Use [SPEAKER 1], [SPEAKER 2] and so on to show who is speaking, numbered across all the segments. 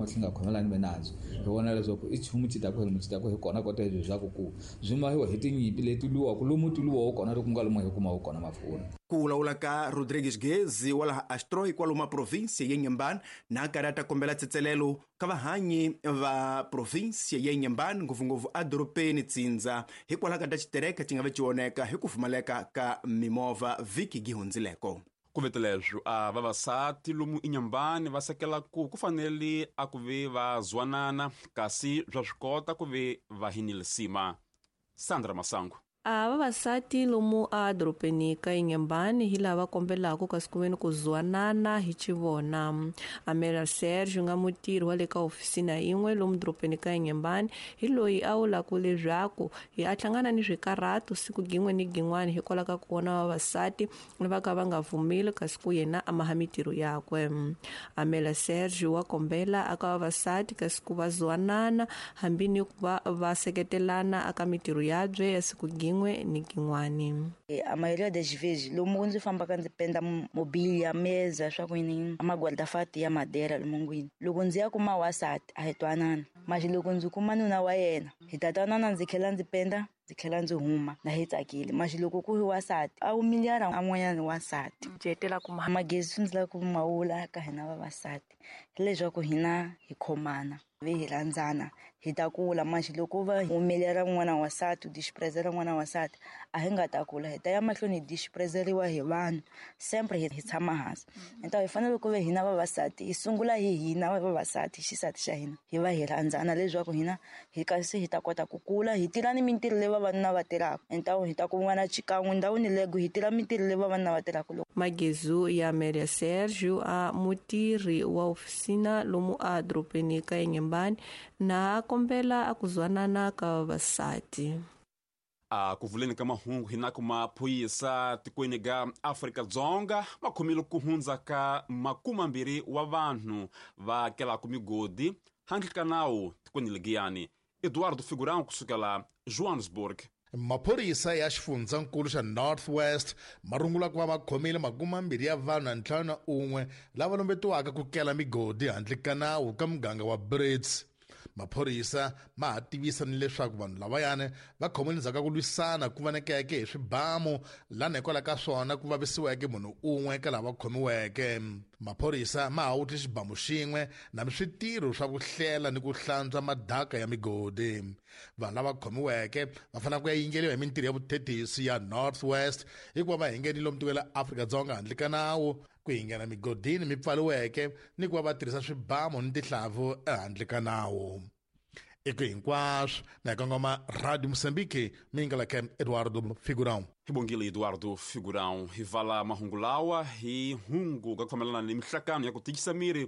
[SPEAKER 1] Xi nga khomelani minandzu hi vona leswaku i nchumu xi taku lomu xi taku hi kona kota leswaku ku byi mahiwa hi tinyimpi leti lwiwaka lomu ti lwiwaku kona loko ku nga lomu hi kumaka kona mafurha.
[SPEAKER 2] Ku vulavula ka Rodrigues Gezi wa laha Astroy kwalomu provinsia ya Inhambane na karhi a ta kombela tsetselelo ka vahanyi va provinsia ya Inhambane ngopfungopfu edorobeni Tsindza hikwalaho ka ta xitereka xi nga ve xi oneka hi ku pfumaleka ka mimovha vhiki gi hundzileko.
[SPEAKER 3] Ku vete leswo a vavasati lomu Inhambane va sekela ku ku fanele a ku ve va zwanana kasi bya swi kota ku ve va hinilisima. Sandra Masangu.
[SPEAKER 4] A vavasati lomu a dorobeni ka Inhambane hi lava kombelaka kasi ku veni ku zwanana hi xivona. Amelia Sergio nga mutirhi wa le ka ofisina yin'we lomu dorobeni ka Inhambane hi loyi a vulaka leswaku hi a hlangana ni swikarhato siku gin'we ni gin'wana hikwalaho ka ku vona vavasati va ka va nga pfumeli kasi ku yena a maha mitirho yakwe. Amelia Sergio wa kombela aka vavasati kasi ku va zwanana hambi ni ku va va seketelana aka mitirho yabye ya siku gin'we ni gin'wani.
[SPEAKER 5] A maioria das vezes lomu ndzi fambaka ndzi penda mobília, mesa, swa ku yini, a maguarda-fato ya madeira lomungwini. Loko ndzi ya kuma wansati a hi twanana, mas loko ndzi kuma nuna wa yena hi ta twanana, ndzi tlhela ndzi penda, ndzi tlhela ndzi huma na hi tsakile. Mas loko ku ri wansati a humilhara an'wanyana wansati.
[SPEAKER 4] Jetela kuma
[SPEAKER 5] magezi ndzi lava ku ma vula ka hina vavasati hileswaku hina hi khomana vi hi rhandzana hi ta kula. Mas loko va humelela n'wana wansati u disprezela n'wana wansati a hi nga ta kula, hi ta ya mahlweni hi disprezeriwa hi vanhu sempre hi tshama hansi. Então hi fanele ku ve hina vavasati hi sungula hi hina vavasati xisati xa hina hi va hi rhandzana leswaku hina hi kasi hi ta kota ku kula hi tirha ni mintirho leyi vavanuna va tirhaka. Então hi ta kun'wana xikan'we ndhawini lego hi tirha mintirho leyi vavanuna va tirhaka. Loko
[SPEAKER 4] Magezu ya Amelia Sergio a mutirhi wa ofisina lomu a dorobeni ka Inhambane na a kombela a ku zwanana ka vavasati.
[SPEAKER 3] A ku vuleni ka mahungu hi na ku maphorisa tikweni ga Afrika-Dzonga va khomile ku hundza ka 20 wa vanhu va kelaka migodi handle ka nawu tikweni legiyani. Eduardo Figurão kusukela Johannesburg.
[SPEAKER 6] Maphorisa ya xifundzankulu xa North West ma rungula ku va va khomile 20 ya vanhu na 51 lava lombetiwaka ku kela migodi handle ka nawu ka muganga wa Brits. Maphorisa ma ha tivisa ni leswaku vanhu lavayani va khomiwe endzhaku ka ku lwisana ku vonekeke hi swibamu lana hikwalaho ka swona ku vavisiweke munhu un'we ka lava khomiweke. Maphorisa ma ha wutli xibamu xin'we na switirho swa ku hlela ni ku hlantswa madaka ya migodi. Vanhu lava khomiweke va fanele ku ya yingeriwa hi mintirho ya vuthethisi ya North West hikuva va hingenile lomu tikweni la Afrika-Dzonga handle ka nawu, ku hingena migodini mi pfariweke ni ku va va tirhisa swibamu ni tihlavu ehandle ka nawu. I ku hinkwaswo na hi kongoma Radio Mozambique mi yingela Eduardo Figurão.
[SPEAKER 3] Hi bongile Eduardo Figurão. Hi vala mahungu lawa hi hungu ka ku fambelana ni mihlakano ya ku tikisa miri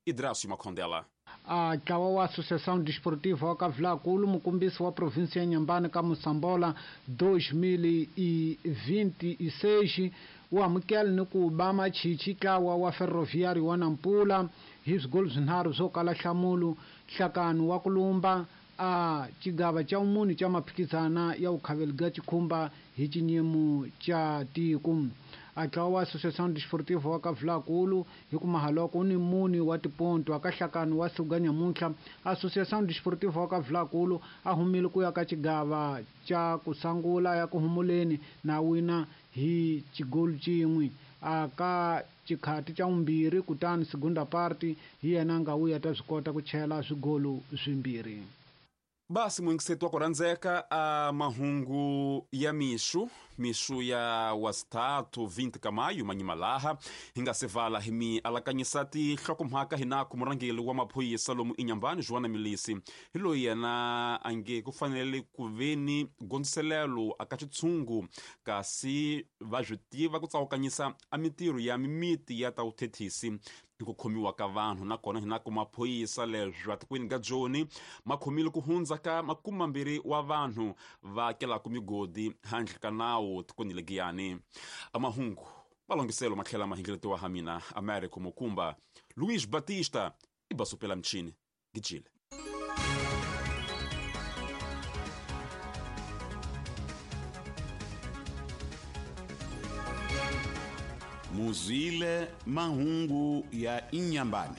[SPEAKER 3] Idrasio Makhondela.
[SPEAKER 7] A ntlawa wa Associação Desportiva wa Kavulakulu mukombisi wa província ya Inhambane ka Moçambola 2026 wu amukela ni ku ba machichi ntlawa wa Ferroviário wa Nampula hi swigolo swinharhu swo kala nhlamulo. Nhlakano wa ku lumba a xigava xa vumune xa maphikizana ya vukhaveli bya xikhumba hi xinyimo xa tiko. A ntlawa wa Associação Desportiva wa Kavulakulu hi ku mahaloko wu ni mune wa tiponto aka nhlakano wa siku ga nyamuntlha. Associação Desportiva wa Kavulakulu a humile ku ya ka xigava xa ku sungula ya ku humuleni na wina hi xigolo xin'we aka xikhati xa vumbirhi, kutani segunda parte hi yena a nga vuya ta swi kota ku chela swigolo swimbirhi.
[SPEAKER 3] Basi muyingiseti wa ku rhandzeka a mahungu ya mixu mixu ya wasithathu 20 ka mayu manyima laha hi nga se vala hi mi alakanyisa tinhlokomhaka hi na ku murhangeri wa maphorisa lomu Inhambane Joana Milisi hi loyi yena a nge ku fanele ku veni gondziselelo aka xitshungu kasi va swi tiva ku tsawukanyisa a mintirho ya mimiti ya ta vuthethisi ni ku khomiwa ka vanhu. Nakona hi na ku maphorisa leswi atikweni ga Joni ma khomile ku hundza ka 20 wa vanhu va kelaka migodi handle ka nawu tikweni legiyani. A mahungu malongiselo ma tlhela ma hingeletiwa ha mina Americo Mukumba. Luis Batista i basopela michini gijile.
[SPEAKER 8] Muzwile mahungu ya Inhambane.